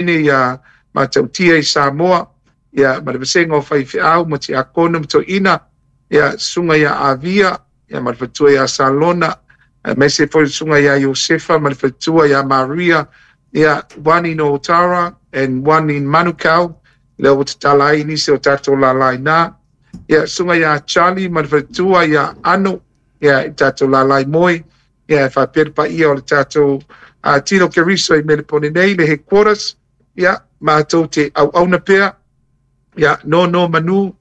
Ia Matautia i Samoa, ia ma le vasega o faifeau ma tiakono ma toeaiina, ia susuga ia Avia, ia ma le faletua ia Salona, aemaise foi le susuga ia Iosefa ma le faletua ia Maria, ia one in Otara and one in Manukau, lea ua tatala ai nisi o tatou lala i ina. Ia susuga ia Charlie ma le faletua ia Ano, ia i tatou lala i Moe, ia e faapea le paia o le tatou Tino Keriso i Melepone nei, le headquarters, ia matou te auauna pea, ia nono manu,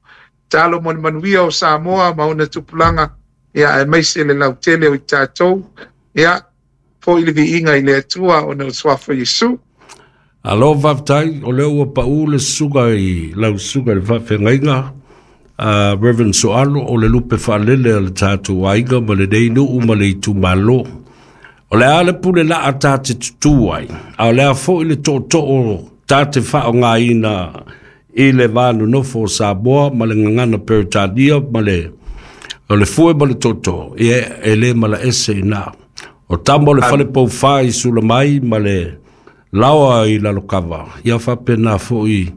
talo mo le manuia o Samoa ma ona tupulaga, ia aemaise le lautele o i tatou, ia foi le viiga i le Atua ona o le suafa o Iesu. Alo faafetai, o lea ua pau le susuga i lau susuga i le faafeagaiga Reverend Soalo, o le lupe faalele a le tatou aiga ma lenei nuu ma le itumalo. O le a le pule laa ta te tutū ai, a o le a foi le tootoo ta te faaaogaina i le va nonofo o Samoa ma le gagana Peretania ma le o le fue ma le tootoo, ia e le malaese i ina. O tama o le fale poufa i Sulamai ma le laoa i Lalokava, ia faapena foi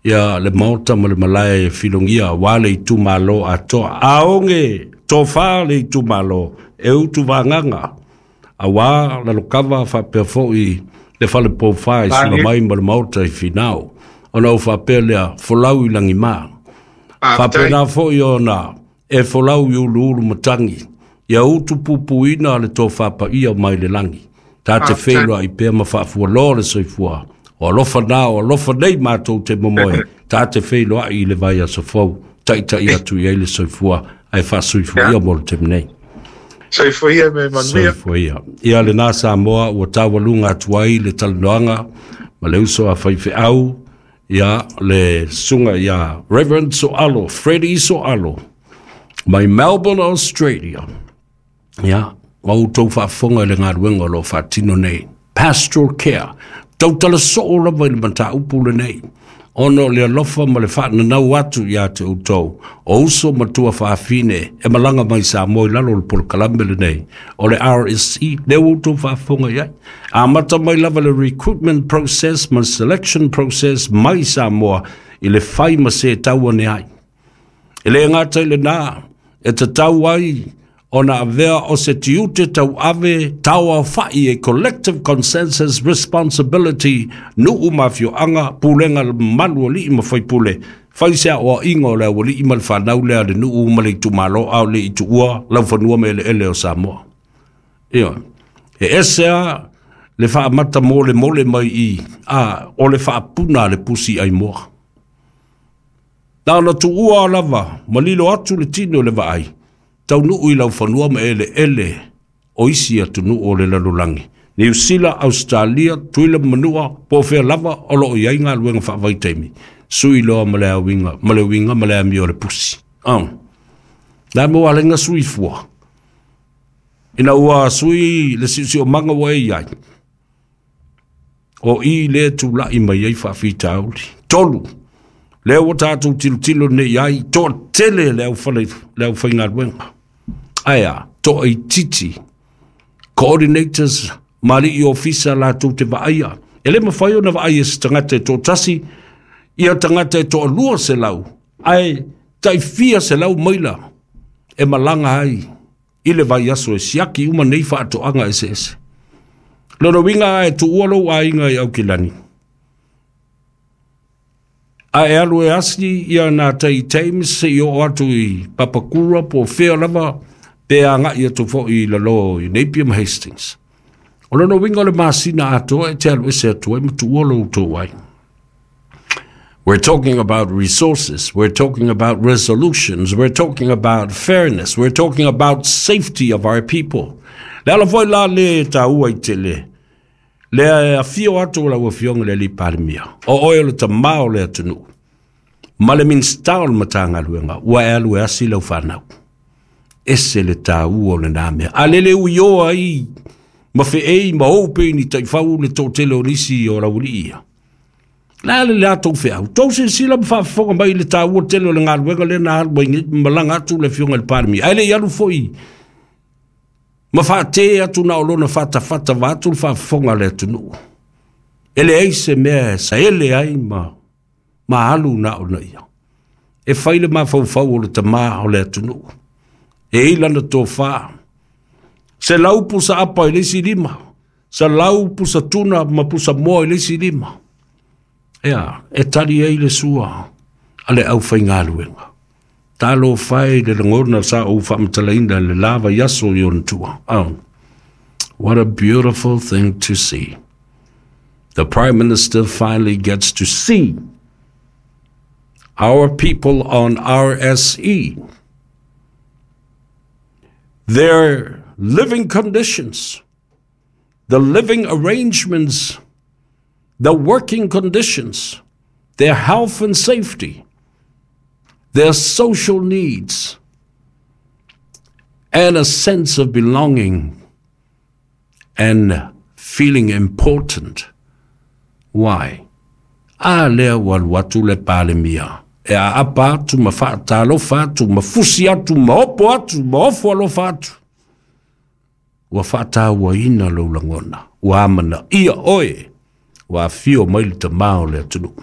ia le maota ma le malae e filogia aua le itumalo atoa. Aoge tofa le itumalo e utu vagaga aua Lalokava faapea foi le fale poufa i Sulamai ma le maota i Finao. Ona ou faapea lea, folau i lagima. Faapena foi ona e folau i uluulu matagi, ia utu pupuina le tofa paia mai le lagi. Ta te feiloai pea ma faafualoa le soifua. O alofa na, o alofa nei matou te momoe. Ta te feiloai i le vaiaso fou. Taitai atu i ai le soifua, ae faasoifua ia mo le taimi nei. Soifua ia me manuia. Soifua ia. Ia lena Samoa ua taualuga atu ai le talanoaga ma le uso a faifeau, ia le susuga ia Reverend Soalo, Freddie Soalo, mai Melbourne, Australia. Ia, ma outou faafofoga i le galuega o lo o faatino nei. Pastoral care, tautala soo lava i le mataupu lenei, ona o le alofa ma le faananau atu ia te outou, o uso ma tuafafine e malaga mai Samoa i lalo o le polokalame lenei, o le RSE, lea ua outou faafofoga i ai. Amata mai lava le recruitment process ma le selection process mai Samoa i le fai ma se tau ane ai. E le gata i lena, e tatau ai ona avea o se tiute tauave tauaofa'i e collective consensus responsibility nuu ma afioaga, pulega mamalu o alii ma faipule, fai se aoaiga o le aualii ma le fanau lea a le nuu ma le itumalo a o le i tuua laufanua ma eleele o Samoa. Ioe. E ese a le faamata molemole mai i, a o le faapuna a le pusi aimoa. Na ona tuua lava ma lilo atu le tino i le vaai, taunuu i laufanua ma eleele o isi atunuu o le lalolagi, Niu Sila, Ausetalia, Tutuila ma Manua, po o fea lava o lo o i ai galuega faavaitaimi, sui loa ma le uiga ma le uiga ma le amio a le pusi. Oh. La mo ala i sui fua. Ina ua sui le siosiomaga ua e i ai, o i lea tulai mai ai faafitauli. Tolu, lea ua tatou tilotilo nei ai, toatele le aufale, le aufaigaluega. Ae a, toaitiiti, coordinators ma alii ofisa latou te vaaia. E le mafai ona vaai e se tagata e toatasi, ia tagata e toalua selau, ae tai fia selau maila e malaga ai i le vaiaso e siaki uma nei faatoaga eseese. Lona uiga a e tuua lou aiga i Aukilani, a e alu e asi ia nā tai Thames se i oo atu i Papakura po o fea lava pe agai atu foi i lalo i Napier ma Hastings. O lona uiga o le masina atoa e te alu ese atu ai ma tuua lou tou aiga. We're talking about resources. We're talking about resolutions. We're talking about fairness. We're talking about safety of our people. Le ala foi la le taua i tele. Lea e afio atu o lau afioga i le alii Palemia. O oe o le tamā o le atunuu. Ma le Minisita o le Matagaluega, ua e alu e asi lau fanau. Ese le taua o lena mea. A lele uioa ai ma feei ma ou pei ni taifau le toatele o nisi o laualii ia. Le a le latou feau? Tou silasila ma faafofoga mai i le taua tele o le galuega lea na alu ai nei ma malaga atu le Afioga i le Palemia. Ae le i alu foi ma faatē atu na o lona fatafata vaeatu le faafofoga a le atunuu. E leai se mea e saele ai ma ma alu na ona ia. E fai le mafaufau o le tamā o le atunuu. E i lana tofā. 100 pusa apa i le isi lima. 100 pusa tuna ma pusa moa i le isi lima. Ea, e tali ai le sua a le aufaigaluega. Talofa e i le lagona sa ou faamatalaina i le la vaiaso i ona tua. Oh, what a beautiful thing to see. The Prime Minister finally gets to see our people on RSE, their living conditions, the living arrangements, the working conditions, their health and safety, their social needs, and a sense of belonging and feeling important. Why? A lea ua alu atu le Palemia e aapa atu ma faatalofa atu ma fusi atu ma opo atu ma ofo alofa atu. Ua faatauaina lou lagona, ua amanaia oe, ua afio mai le tamā o le atunuu.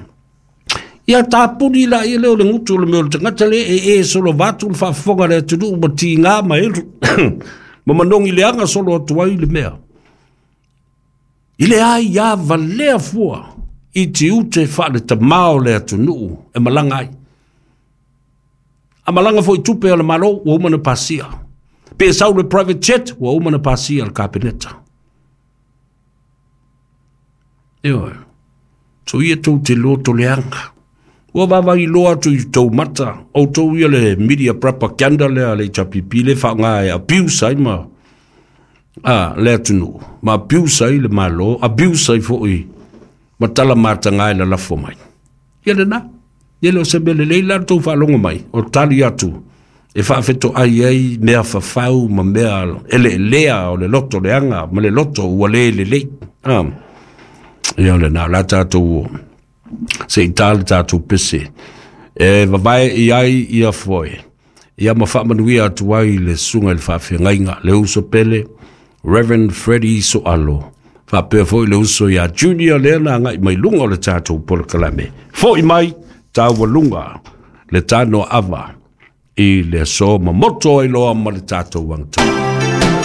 Ia tapuni laia lea o le gutu o le mea o le tagata lea e e solo atu le faafofoga a le atunuu ma tiga ma elu ma manogi leaga solo atu ai le mea. I le ai ia valea fua i tiute faale-tamā o le atunuu e malaga ai. A malaga foi i tupe a le Malo, ua uma ona pasia. Pe sau le private jet, ua uma ona pasia le Kapeneta. Ioe. So ia tou te loto leaga. Ua vaavaai loa atu i tou mata, outou ia le media propaganda lea a le HRPP le faaaoga e abuse ai ma a le atunuu, ma abuse ai le Malo, abuse ai foi ma tala mataga e lalafo mai. Ia lena, ia le o se mea lelei la le tou faalogo mai, o tali atu e faafetoai ai mea fafau ma mea eleelea o le loto leaga ma le loto ua le lelei. Ah. Ia lena, la tatou se i tā le tatou pese e vavae i ai ia foe. Ia ma faamanuia atu ai le susuga i le faafeagaiga, le uso pele, Reverend Freddie Soalo. Faapea foi le uso ia Junior lea na agai mai luga o le tatou polokalame. Foi mai taualuga le tanoa ava i le aso mamoto ai loa ma le tatou agatonu.